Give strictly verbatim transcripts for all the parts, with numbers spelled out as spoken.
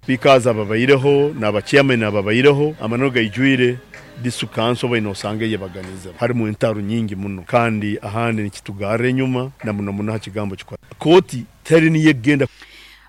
Speakers ababaireho n'abachairman ababaireho, amananu gaijwire, district council baine osanga eyebaganiza harimu entaro nyingi muno, kandi ahandi nikitugarra enyuma na muno muno ha kigambo kikwa kooti teri niyo egenda.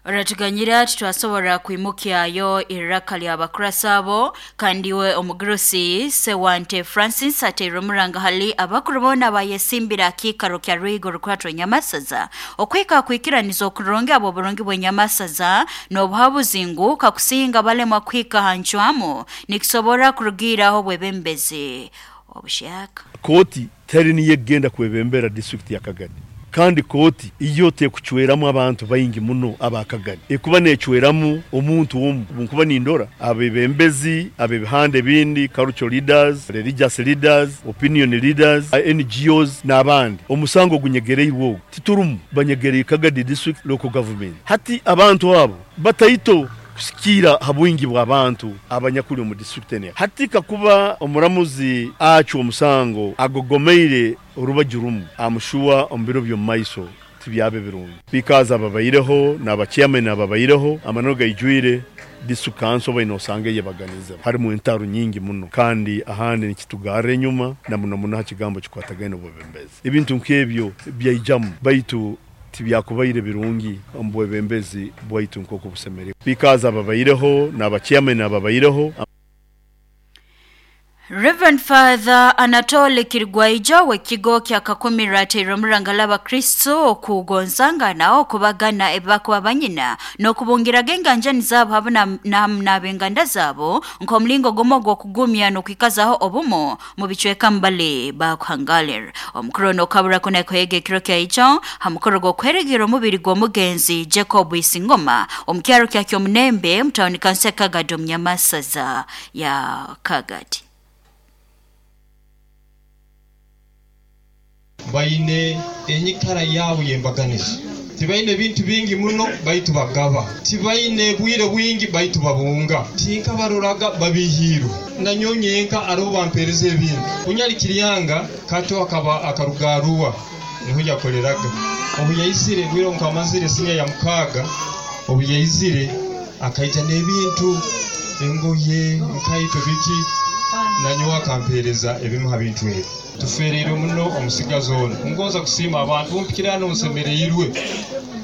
Oratuganyira, titwasobora kwimukyayo iraka ly'abakurasi abo. Kandi we omugurusi Sewante Francis ateire omuranga hali abakuru boona bayesimbira akiikaro kya Rwigo Rukwatwa Nyamasaza okwika kwikiraniza okurungi abo oburungi bw'enyamasaza n'obuhabuzi ngu kakusinga balemwa kuhika ha ncwamu nikisobora kurugiiraho bwebembezi obushaka. Kooti teri niyo egenda kwebembera district ya Kagadi, kandi kooti iyo tekuchweramu abantu baingi muno abakagadi, ekuba necweramu omuntu omu. Nkuba nindora abebembezi abebihande bindi, cultural leaders, religious leaders, opinion leaders, N G Os n'abandi, omusango gunyegereirwe ogwo titurumu banyegereye Kagadi district local government. Hati abantu abo bataito kusikira habwingi bw'abantu abanyakuli omu district ene. Hati kakuba omuramuzi acwa omusango agogomeire orubaju rumu, amushuwa omu biro by'omu maiso tibyabe birungi. Speakers ababaireho n'abachairman ababaireho, amananu gaijwire, district council baine osanga eyebaganiza harimu entaro nyingi muno, kandi ahandi nikitugarra enyuma na muno muno ha kigambo kikwatagaine obwebembezi. Ebintu nk'ebyo byaijamu, baitu tibyakubaire birungi omu bwebembezi bwaitu nk'oku busemeriire. Speakers ababaireho n'abachairman ababaireho. Reverend Father Anatole Kirigwaija w'ekigo kya Kakumira ateire omuranga l'Abakristo okugonzangana, okubagana ebibakuba banyina n'okubungiraga enganjani zaabo hamu n'ab'enganda zaabo nk'omulingo gumu ogw'okugumya n'okwikazaho obumu mu bicweka mbali bakuhangalira. Omukuru ono okabura kunekwega ekiro kyaijo ha mukoro gw'okweregira omubiri gw'omugenzi Jacob Isingoma omu kyaro kya Kyomunembe mu tawuni kanso ya Kagadi omu Nyamasaza ya Kagadi. Baine enyikara yaabo y'embaganiza, tibaine bintu bingi muno baitu bagaba, tibaine bwire bwingi baitu babunga, tinkabaroraga babihiirwe nanyonye enka aribo bampereza ebintu. Kunyalikiriyanga kato akaba akarugaruwa niho yakoreraga. Obu yaizire bwire nkamazire sinya ya mukaaga, obu yaizire akaija n'ebintu engoye nkaito biki, nanyowe akampereza ebimu ha bintu ebi. Tufereire muno omusigazi ono. Ngonza kusiima abantu bumpikira hano nsemereirwe,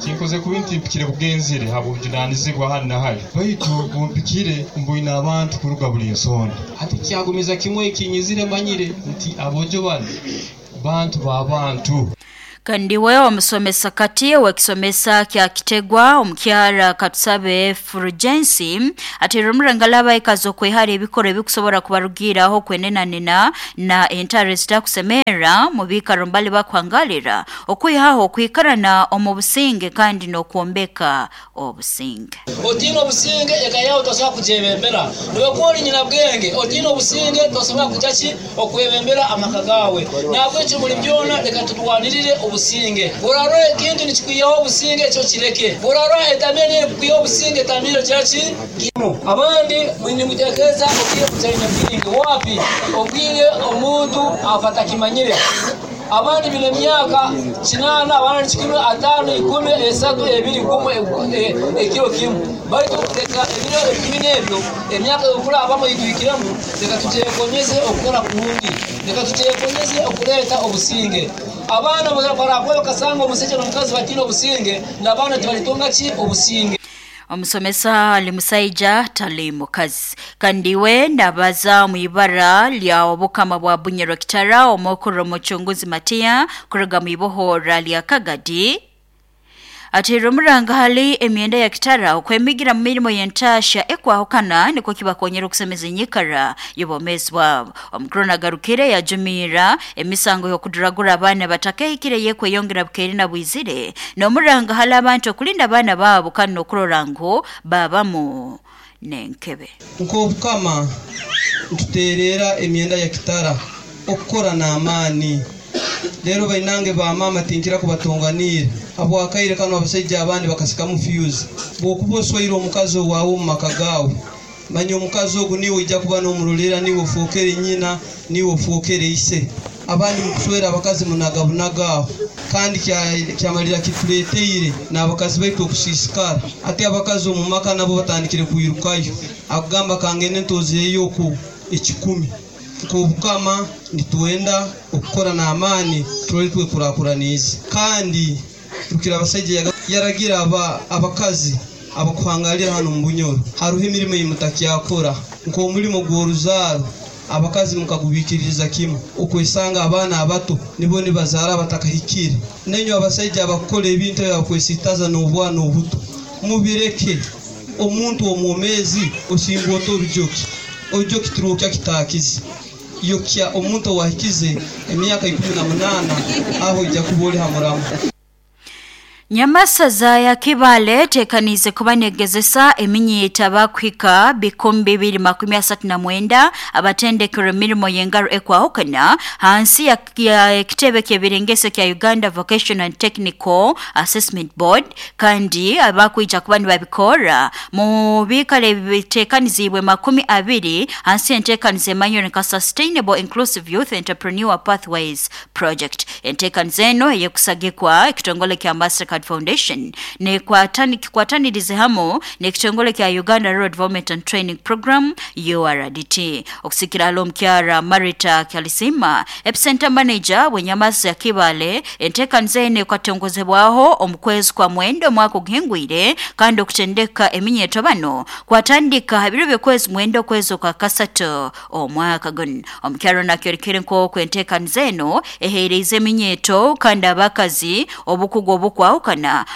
kinkoze kubi nti mpikire bugenzire habw'obujunanizibwa hano na hali, baitu bumpikire mbwine abantu kuruga buli nsonda. Hati kyagumiza kimwe ekinyizire manyire nti abojo bano bantu b'abantu. Kandi we omusomesa kati wekisomesa kya Kitegwa omukyara Katusabe Fulgensi ateire omuranga l'abaikazi okwehara ebikoro ebikusobora kubarugiraho kwenenanena na entaro zitakusemera mu biikaro mbali bakuhangalira okwihaho okwikarana omu businge kandi n'okwombeka obusinge. Otiina obusinge eka yawe tosobola kugyebembera, niwe ori nyina bwenge otiina obusinge tosobola kujya ki okwebembera amaka gawe. Nabwekyo muri byona reka tutwanirire obusinge. Burarora ekintu nikikwihaho obusinge ekyo kireke, burarora etamire nerikukwihaho obusinge etamire kyaki kimu. Abandi nimutekereza obwire butaine bwingi wapi, obwire omuntu afa atakimanyire. Abandi bine emyaka kinaana, abandi kikumi, ataano, ikumi, esatu, ebiri, gumu, ekiro kimu. Baitu reka ebiro ebikumi n'ebyo emyaka okurabamu itwikiremu, reka tugyekonyeze okukora kurungi, reka tugyekonyeze okureeta obusinge. Abaana barakuba bakasanga omusajja n'omukazi batiine obusinge, n'abaana tibalitunga ki obusinge. Omusomesa ali musaija tali mukazi. Kandi we ndabaza mu ibara lya obukama bwa Bunyoro Kitara omukuru omuchunguzi Matia kuruga mu ibohora lya Kagadi ateire omuranga hali emyenda ya Kitara okwemigira mu mirimo y'entasha ekwahukana niko kibakonyera okusemeza enyikara y'obwomeezi bwabo. Omukuru nagarukire yajumira emisango y'okuduragura abaana batakehikire yekweyongera bukeeri na bwizire n'omuranga hali abantu okulinda abaana baabo kandi n'okurora ngu babamu n'enkebe. Nk'obukama ntuteerera emyenda ya Kitara okukora n'amaani. Rero bainange ba mama tinkira kubatonganira habwakaire kano abasajja abandi bakasikamu fuse. Bwokuba oswaire omukazi owaawe omu maka gaawe, manya omukazi ogu niwe ojja kuba n'omurolera, niwe ofookere nyina, niwe ofookere ise. Abandi mukuswera abakazi munagabunaga aho, kandi kyamalira kituleteire n'abakazi baitu okusiisikara. Ate abakazi omu maka nabo batandikire kwirukayo, akugamba kangende ntozeeyo oku ekikumi. Nk'obukama nitwenda okukora n'amaani turole twekurakuraniize. Kandi Rukira Abasaija yaragira aba abakazi abakuhangalira hano mu Bunyoro, haruho emirimo eyimutakyakora nk'omulimo gw'oruzaaro. Abakazi mukagubikiririza kimu okwesanga abaana abato nibo nibazaara abatakahikire. Nenywe abasaija abakukora ebintu ebyo abakwesitaza n'obwana obuto, mubireke. Omuntu omwomezi osingwa ota orujoki? Orujoki tirwokya kitakize. Yokya omuntu owahikize emyaka ikumi na munaana, aho ojja kuba oli ha muramu. Nyamasaza ya Kibale tekanize kuba negezesa eminyita bakuhika bikumi bibiri makumi asatu na mwenda abatendekero emirimo y'engaro ekwahukana hansi ya, ya kitebe ky'ebirengeso kya Uganda Vocational and Technical Assessment Board, kandi abakwija kuba nibabikora mu bikale bitekanizibwe makumi abiri hansi entekanize emanyire nka Sustainable Inclusive Youth Entrepreneur Pathways Project. Entekanize eno eyekusagikwa ekitongole kya Mastercard Foundation nekwatani kikwatanirize hamo nekitongole kya Uganda Rural Development and Training Program U R D T. Okusikira alo mkyara Marita Kyalisima, Epicenter Manager wenyamasa ya Kibale, entekanize ene kwatongozebwaho omukwezi kwa mwendo mwaka oguhingwire, kandi okutendeka eminyeto bano kwatandika habiro byokwezi mwendo kwezi kwa kasato omwaka guno. Omukyaro nakyorekere nko entekanize eno ehereze eminyeto kandi abakazi obukugu obukwahukana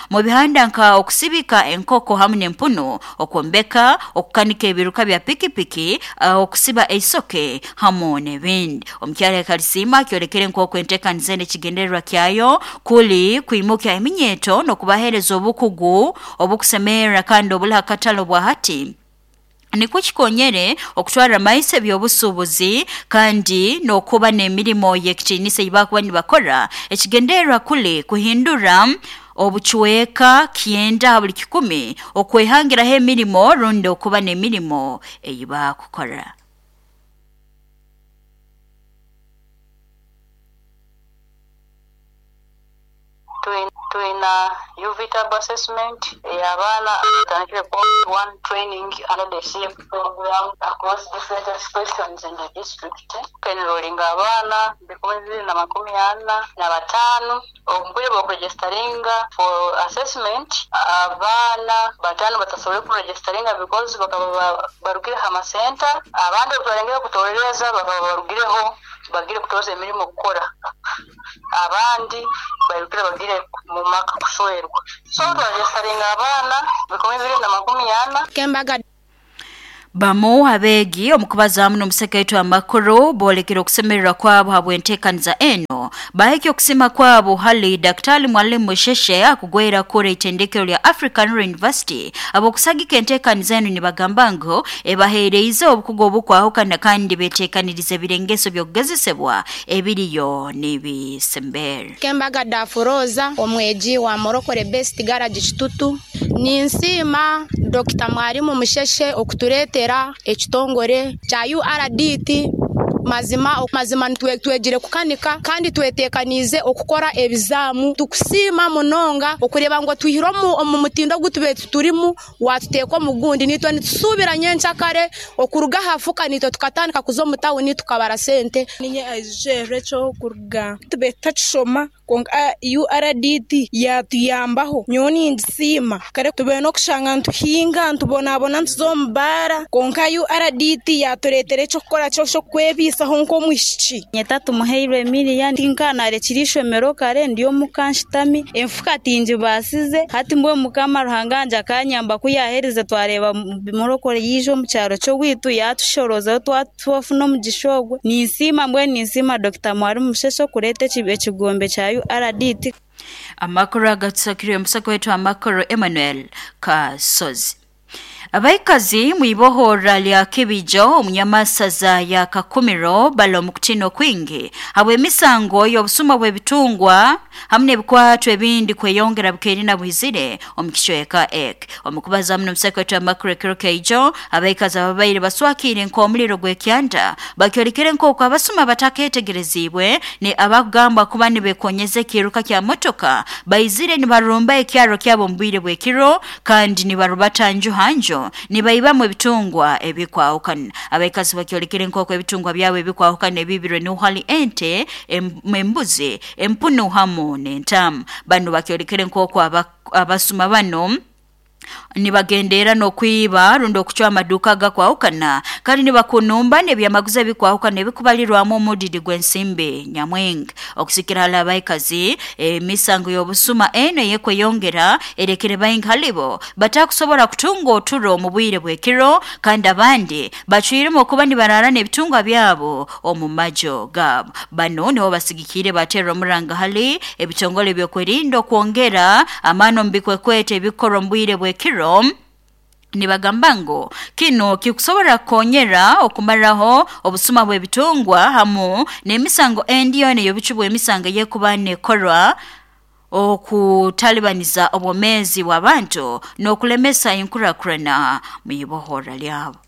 mu bihanda nka okusibika enkoko hamwe n'empuno, okwombeka, okukanika ebiruka bya pikipiki, uh, okusiba eisoke hamwe n'ebindi. Omukyala Kalisima kyorekere nk'oku entekaniza eno ekigendererwa kyayo kuli kwimukya eminyeto n'okubahereza obukugu obukusemerera kandi obuli hakatalo bwa hati nikwo kikonyere okutwara amaiso ebyobusuubuzi kandi n'okuba n'emirimo y'ekitiinisa ei bakuba nibakora. Ekigendererwa kuli kuhindura obuchweka kyenda buli kikumi okwehangiraho emirimo rundi okuba n'emirimo ei bakukora. Twina U V Tab assessment ey'abaana abatandikire one training under the C F program across different expressions in the district. Enrolling abaana bikumi bibiri na makumi ana na bataano omubwire bw'okuregisteringa for assessment. Abaana bataano batasobole kuregisteringa because bakaba barugire ha masenta, abandi obubarengere kutorereza bakaba barugireho bagire kutoza emirimo kukora, abandi barugire bagire mu maka kuswerwa. So twaregisteringa abaana bikumi bibiri na makumi ana. Kembaga Bamu abeegi omukubaza n'omusekaitu amakuru boolekera okusemererwa kwabo habw'enteekaniza eno bahikya okusima kwabo hali Daktari Mwalimu Musheshe akugwera kura itendekero lya African University. Abokusagika enteekaniza eno nibagamba ngu ebaheereize obukugu obukwahukana kandi beteekanirize ebirengeso by'okugezesebwa ebiriyo n'ebisembere. Kembaga Dafuroza omweji wa Morokore Best Garage Kitutu. Ninsiima Dokita Mwalimu Musheshe okutureetera ekitongore kya U R D T. Mazima mazima twegire kukanika kandi twetekanize okukora ebizamu. Tukusiima munonga okureba ngo twihire omu mutindo gutube turimu watuteeka omugundi nitwe nitusubira nyenchakare okuruga hafuka nitwe tukatandika kuza omu tawuni tukabara sente. Ninye aije cyo kuruga tube tachishoma konka U R D T yatuyambaho nyoni ndisima kare tube no kushanga ntuhinga ntubonabona ntuzombara konka U R D T yaturetere cyo kukora cyo cyo kwebisa honko mwishiki. Nyeta tumuheirwe Emilia tinkana rekirishomero kare ndiyo mukanshitami enfuka tinji basize hati mbwe mukama Ruhanganja kanyamba kuyahereze twareba Morokore yijo mu cyaro cyo witu yatushoroza twatwafuna mu gishogwe. Ninsima mbwe ninsima Dokita Mwalimu Musheshe kurete ekigombe kya U R D T. Amakuru agatsakiriye musako wetu amakuru Emmanuel Kasozi. Abaikazi mwibohora lya Kibijo omunyamasaza ya Kakumiro bali omu kutino kwingi habw'emisango y'obusuma bw'ebitungwa hamwe n'ebikwato ebindi kweyongera bukeerina bwizire omu kicweka ek. Omukubaza hamwe n'omusekretary amakuru ekiro keijo, abaikazi ababaire baswakire nk'omuliro gw'ekyanda bakyorekere nk'oku abasuma batakeetegerezibwe ni abakugambwa kuba nibekonyeza ekiruka kya motoka baizire nibarumba ekyaro kyabo omu bwire bw'ekiro kandi nibarubata nju hanjo nibaibamu ebitungwa ebikwahukana. Abaikazi bakyorekere nk'oku ebitungwa byabo ebikwahukana ebibirwe nuhali ente, embuzi, empunu hamu n'entamu. Bano bakyorekere nk'oku abasuma bano nibagendera n'okwiba rundi okucwa amaduka gakwahukana kandi nibakunumba n'ebyamaguzi ebikwahukana ebikubalirwamu omudidi gw'ensimbi nyamwingi. Okusikira hali abaikazi, emisango y'obusuma eno eyekweyongera erekere baingi halibo batakusobora kutunga oturo omu bwire bw'ekiro kandi abandi bacwiremu okuba nibarara n'ebitungwa byabo omu majo gaabo. Bano nibo basigikire baterwa omuranga hali ebitongole ebyokwerinda okwongera amaani omu bikwekwete ebikorwa omu bwire bw'ekiro. Nibagamba ngu kino kikusobora kukonyera okumaraho obusuma bw'ebitungwa hamu n'emisango endi yoona ey'obucu bw'emisango ey'ekuba nekorwa okutalibaniza obwomeezi bw'abantu n'okulemesa enkurakurana mu ibohora lyabo.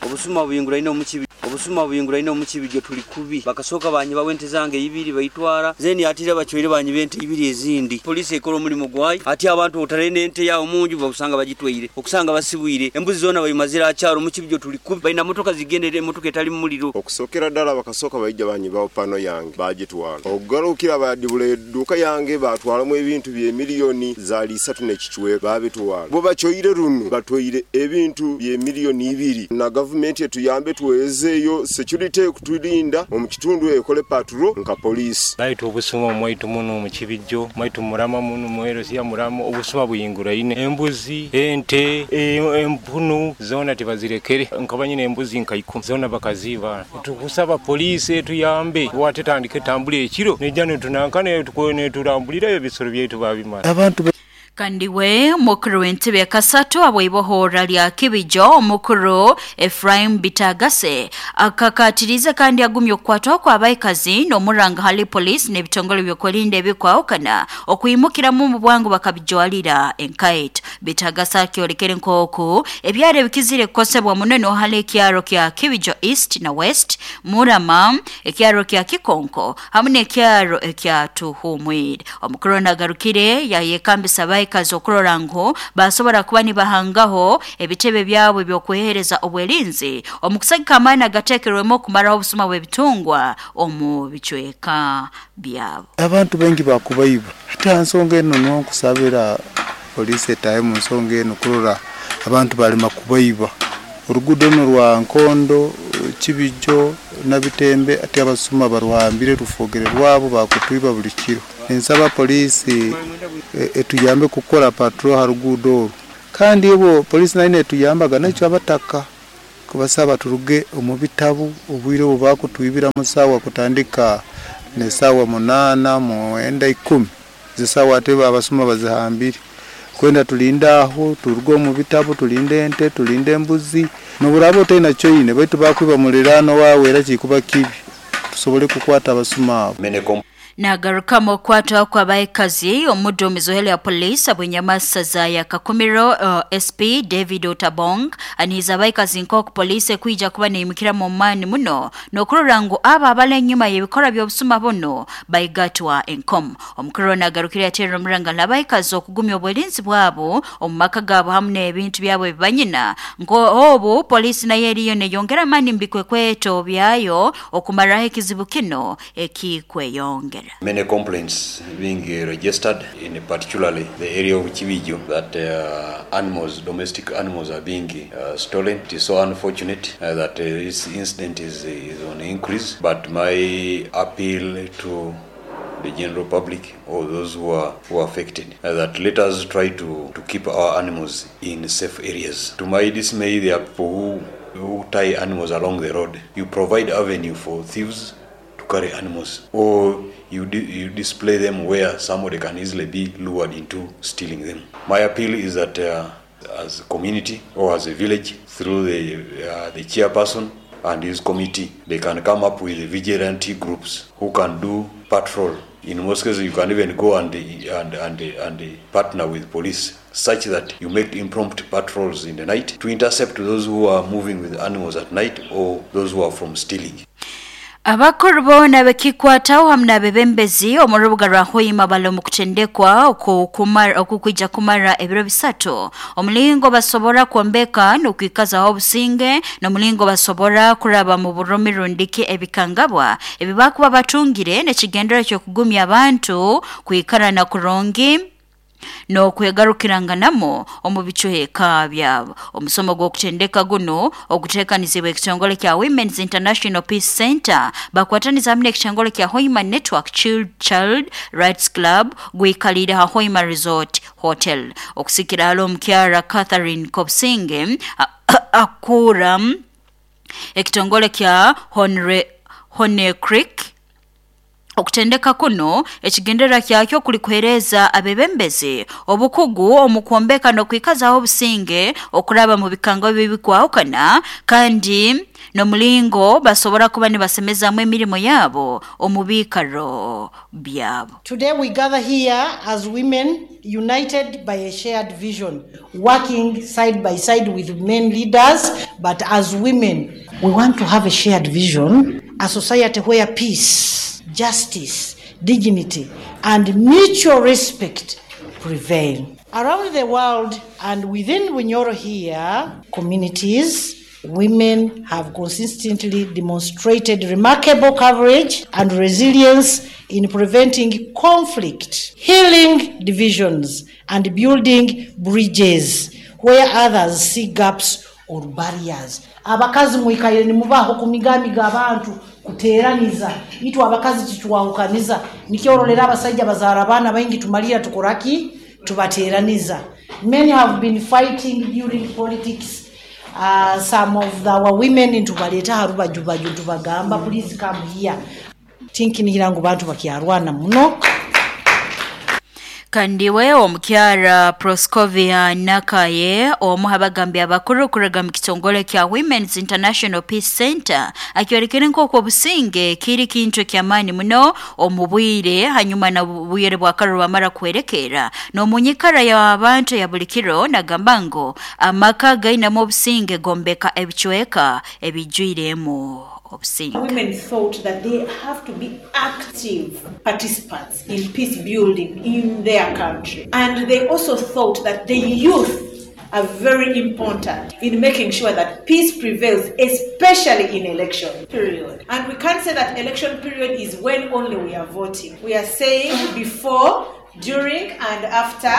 Obusuma buyinguraine omukibi obusuma buyinguraine omukibi tuli kubi bakasoka banyiba wente zange ibiri baitwara zeni atira bachwire banyiba ente ibiri ezindi. Polisi ekola omulimu gwayo ati abantu otarene ente yawo munju bakusanga bagitweire okusanga basibwire embuzi zona bayimazira akyaro mukibi tuli kubi bayina motoka zigendere emotoka etali muliro. Okusokera ddala bakasoka bayijja banyiba pano yange bagitwala okugalukira badibula edduka yange batwalamu ebintu bye miliyoni zaali isatu n'ekichwe babitwala bo bachoire runo batwaire ebintu bye miliyoni ibiri na gavumenti etuyambe tuwezeeyo security kutulinda omu kitundu ekole patrol nka police. Baitu obusuma mwaitu muno mu Kibijo mwaitu murama muno mwero siya murama obusuma buyinguraine embuzi ente empunu zona tibazirekere nkabanyine embuzi nka ikumi zona bakaziba. Tukusaba police etuyambe watetandike tambule ekiro nejano tunankane tukone turambulira ebisoro byaitu babimara abantu. Kandi we mukuru w'entebe ya kasatu abw'ibohora lya Kibijo omukuru Ephraim Bitagase akakatiriza kandi agumye okukwatwa kw'abaikazi n'omuranga hali polisi n'ebitongole by'okwerinda ebikwahukana okwimukiramu mu bwangu bakabijwalira enkaito. Bitagase akyorekere nk'oku ebyaro ebikizire kukosebwa muno nohali ekyaro kya Kibijo East na West, Murama, ekyaro kya Kikonko hamwe n'ekyaro ekya Tuhumwire. Omukuru nagarukire yayekambisa abaikazi okurora ngu basobora kuba nibahangaho ebitebe byabo eby'okwehereza obwerinzi omu kusagika amaani agateekerwemu okumaraho obusuma bw'ebitungwa omu bicweka byabo. Abantu baingi bakubaiba hati ha nsonga eno nonkusabira polisi etahe mu nsonga eno kurora abantu balema kubaiba. Oruguudo runo rwa Nkondo, Kibijo Nabitembe ati abasuma baruhambire rufogere rwabo bakutwiba buli kiro. Nsaba polisi etuyambe kukora patrol ha ruguudo oru kandi obo polisi nayo etuyambaga nakyo abataka kubasaba turuge omu bitabu obwire obu bakutwibira musawa kutandika ne sawa munana mwenda ikumi zisawa ate abasuma bazihambire kwenda tulinda aho turuge omu bitabu tulinde ente tulinde embuzi noburaba otaina kyoine baitu bakwiba muliraano wawe era kikuba kibi tusobole kukwata abasuma abo. Nagarukamu okwatwa kw'abaikazi omuduumizi w'ohele ya poliisi abw'enyamasaza ya Kakumiro uh, S P David Otabong anihiza abaikazi nk'oku poliisi ekwija kuba neimukiramu omu muno n'okurora ngu abo abali enyuma y'ebikorwa by'obusuma buno baigatwa enkomo. Omukuru nagarukire yateerera omuranga n'abaikazi okugumya obwerinzi bwabo omu maka gaabo hamu n'ebintu byabo ebibanyina nk'obu poliisi nayo eriyo neyongera amaani mu bikwekweto byayo okumaraho ekizibu kino ekikweyongera. Many complaints being registered in particularly the area of Kibijo that uh, animals, domestic animals are being uh, stolen. It is so unfortunate uh, that uh, this incident is, is on increase, but my appeal to the general public or those who are, who are affected, uh, that let us try to, to keep our animals in safe areas. To my dismay, there are people who, who tie animals along the road. You provide avenue for thieves to to carry animals, or you, di- you display them where somebody can easily be lured into stealing them. My appeal is that uh, as a community or as a village, through the, uh, the chairperson and his committee, they can come up with vigilante groups who can do patrol. In most cases, you can even go and, and, and, and partner with police such that you make impromptu patrols in the night to intercept those who are moving with animals at night or those who are from stealing. Abakuru boona bekikwataho hamwe n'abebembezi omu rubuga rwa Hoima bali omu kutendekwa okukwija kumara ebiro bisatu omulingo basobora kwombeka n'okwikazaho obusinge n'omulingo basobora kuraba mu burumi rundiki ebikangabwa ebibakuba batungire n'ekigendero ky'okugumya abantu kwikarana kurungi n'okwegarukiranganamo omu bicuheka byabo. Omusomo gw'okutendeka guno oguteekanizibwa ekitongole kya Women's International Peace Center bakwataniza hamwe n'ekitongole kya Hoima Network Child, Child Rights Club gwikalire ha Hoima Resort Hotel. Okusikira hali omukyara Catherine Kobsinge akura ekitongole kya Honre, Hone Creek. Okutendeka kuno ekigendera kyakyo kuli kuhereza abebembezi obukugu omu kwombeka n'okwikazaho obusinge okuraba mu bikango bibikwahukana kandi n'omulingo basobora kuba nibasemezamu emirimo yabo omu biikaro byabo. Today we gather here as women united by a shared vision, working side by side with men leaders, but as women we want to have a shared vision, a society where peace, justice, dignity, and mutual respect prevail. Around the world and within Bunyoro here, communities, women have consistently demonstrated remarkable courage and resilience in preventing conflict, healing divisions, and building bridges where others see gaps or barriers. Abakazi mwikaire nimubaho kumigamiga abantu kuteraniza itu abakazi kichwahukaniza nikyorolera abasajja bazaara abaana baingi tumalira tukoraki tubateraniza. Many have been fighting during politics. Uh, some of our women ntubaleta harubajubaju tubagamba please come here tinkinira ngu bantu bakyarwana muno. Kandiwe omukyara Proscovia Nakaye omu abagambi abakuru kuraga mu kitongole kya Women's International Peace Center akyorekere nk'oku obusinge kiri kintu ky'amaani muno omu bwire hanyuma na bwire bwa karuru bamara kwerekera n'omunyikara y'abantu ya buli kiro nagamba ngo amaka gainamu obusinge gombeka ebicweka ebijwiremu. Women thought that they have to be active participants in peace building in their country. And they also thought that the youth are very important in making sure that peace prevails, especially in election period. And we can't say that election period is when only we are voting. We are saying before, during, and after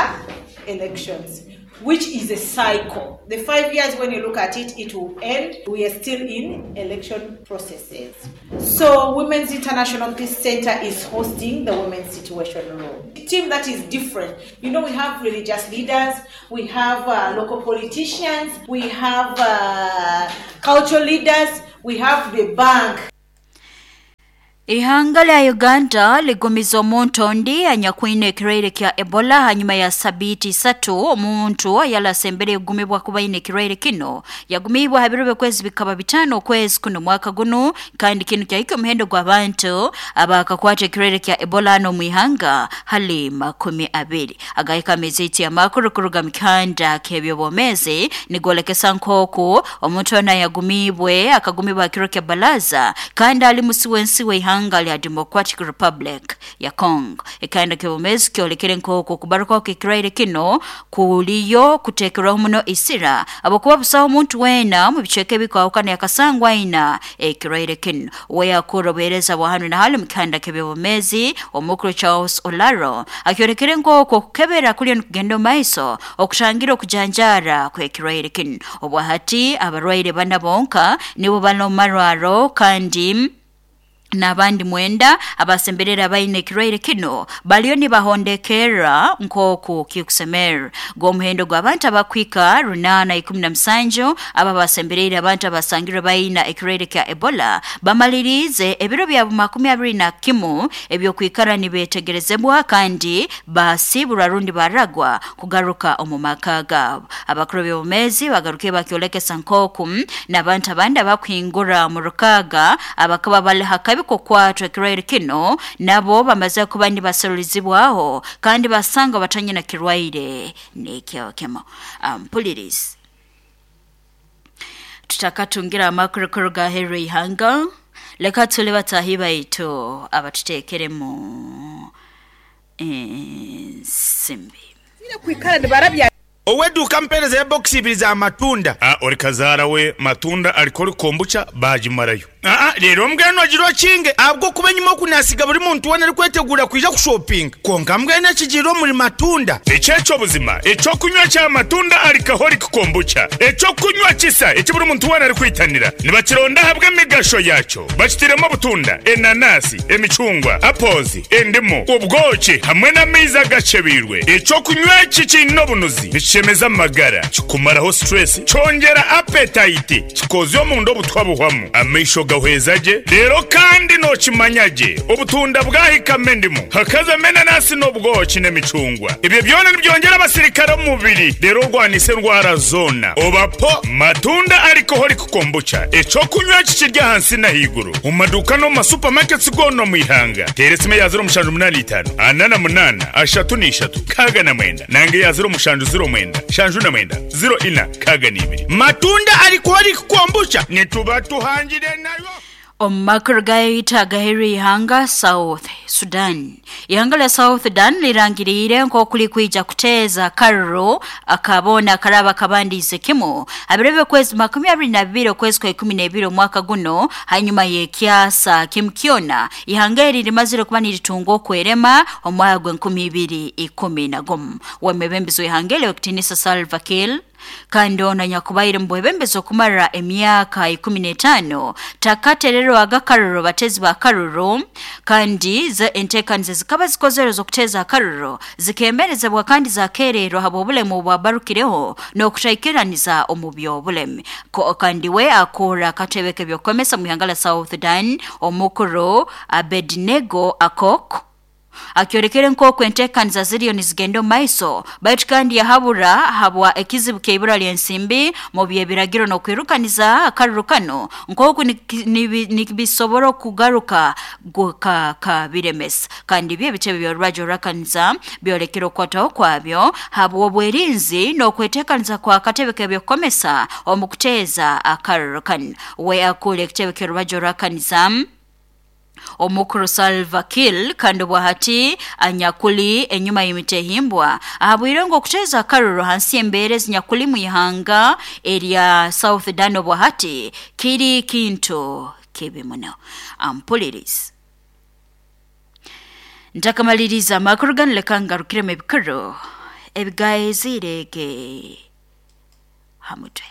elections, which is a cycle. The five years, when you look at it, it will end. We are still in election processes. So Women's International Peace Center is hosting the Women's Situation Room. A team that is different. You know, we have religious leaders, we have uh, local politicians, we have uh, cultural leaders, we have the bank. Ihanga lya Uganda ligumiza omuntu ondi anyakwine ekirwaire kya Ebola hanyuma ya sabiti isatu omuntu ayalasembere egumibwa kuba ine ekirwaire kino yagumibwa ha biro by'okwezi bikaba bitano okwezi kuno mwaka guno kandi kino kyahika omuhendo gw'abantu abakakwata ekirwaire kya Ebola hano mu ihanga hali makumi abiri. Agahika ameziti amakuru kuruga mu kihanda k'ebyobwomezi nigolekesa nk'oku omuntu ona yagumibwe akagumibwa kiro kya balaza kandi ali musi w'ensi w'ihanga lya Democratic Republic ya Congo. Ekanda kebomezi kyolekere nk'oku kubaruka kw'ekirwaire kino kuliyo kutekerwaho muno isira abakuba busaho omuntu wena mu bicweka ebikwahukana yakasangwa aina ekirwaire kino. We yakura obuheereza bwa hanu na hali mu kihanda k'ebyobwomezi omukuru Charles Olaro akyolekere nk'oku okukebera kuliyo nikugenda omu maiso okutangira okujanjara kw'ekirwaire kino. Obwahati abarwaire bana bonka nibo bali omu marwaro kandi N'abandi mwenda abasemberera baine ekirwaire kino baliyo nibahondekera nk'oku kikusemera. G'omuhendo gw'abantu abakwika runana ikumi na musanju aba basembereire abantu abasangirwe baina ekirwaire kya Ebola bamalirize ebiro byabo makumi abiri na kimu ebyokwikara nibetegerezebwa kandi basibura rundi baragwa kugaruka omu maka gabo. Abakuru b'obumezi bagaruke bakyolekesa nk'oku n'abantu abandi abakuhingura mu rukaga abakaba bali hakabi kukwatwa ekirwaire kino nabo bamaze kuba nibaserulizibwaho kandi basanga batanyina kirwaire nekyo kemo. Mpulirizi, tutakatungira amakuru kuruga heru ihanga, leka tule batahi baitu abatutekeremu ensimbi. Oweduka mpereza ya box ibiri za matunda. Ah, ori kazara we matunda alikori kombucha bajimarayo. Ah, ah, rero mbweno agiro kinge abwo kuba nyuma kunasiga buri muntu wana ari kwetegura kuja kushopping. Konka mbweno kijiro muri matunda. Echecho buzima, echo kunywa cha matunda alikahori kombucha. Echo kunywa kisa, echo buri muntu wana ari kwitanira. Nibakironda habwe migasho yacho. Bakitiremo butunda, enanasi, emichungwa, apples, endimu, ubwoki hamwe n'amaizi gachebirwe. Echo kunywa kikino bunuzi. Chemeza magara, kikumaraho stress, chongera appetite, kikozyo omundo obutwa buhwamu, amaisho gahwezaje, rero kandi no kimanyaje, obutunda bwahika mendimu, hakaza menanasi n'obwoki n'emicungwa. Ibyo byona nibyongera abasirikare omubiri, rero rwanise ndwara zona. Obapo matunda alcoholic kombucha, echo kunywa kikirya hansi na higuru. Mu maduka no mu supermarkets gono mu ihanga. Teresime ya zero mushanju munani itanu, anana munana, ashatu n'ishatu, kaga na mwenda. Nange ya zero mushanju zero mwenda, shanju na mwenda, zero ina, kaga n'ibiri. Matunda alcoholic kombucha, nituba tuhangire nayo. Omumakuru gaita gaheri ihanga South Sudan. Ihanga la South Sudan lirangirire nk'okuli kwija kuteeza karro akabona karaba kabandize kimu. Abirebe kwezi makumi abiri na bibiri okwezi kwa ikumi n'ebiri omwaka guno hanyuma y'ekyasa kimkiona. Ihanga eri limazire kuba niritunga okwerema omwaka gw'enkumi ibiri ikumi na gumu. Wemebembezo ihanga eri Okitinisa Salva Kiir kandi ono nyakubaire mbwebembezo kumara emyaka ikumi n'etaano takaterero agakaruro batezi ba karuro kandi ze entekanize zikaba zikozere zokuteza akaruro zikemerezebwa kandi zakererwa habo obulemu bwabarukireho n'okutaikiraniza omu by'obulemi. Kandi we akora akatebe k'ebyokwemesa mu ihanga la South Sudan omukuru Abednego Akok akyorekere nk'oku entekaniza ziriyo nizigenda omu maiso baitu kandi yahabura habwa ekizibu ky'ibura ly'ensimbi mu by'ebiragiro n'okwirukaniza akaruru kano nk'oku nibisobora okugaruka kabiremesa. Kandi byo ebitebe by'orubaju orurakaniza byorekere okukwataho kwabyo habwa obwerinzi n'okwetekaniza kwa katebe k'ebyokukomesa omu kuteeza akaruru kano. We akura ekitebe ky'orubaju orurakaniza omukuru Salva Kiir kandi bwahati anyakuli enyuma y'emitehimbwa ahabwire ngo okuteza akaruru hansi embere zinyakuli mu ihanga erya South Sudan bwahati kiri kintu kibi muno. Ampulirizi, ntakamaliriza amakuru gano leka ngarukiremu ebikuru ebigaezirege hamutwe.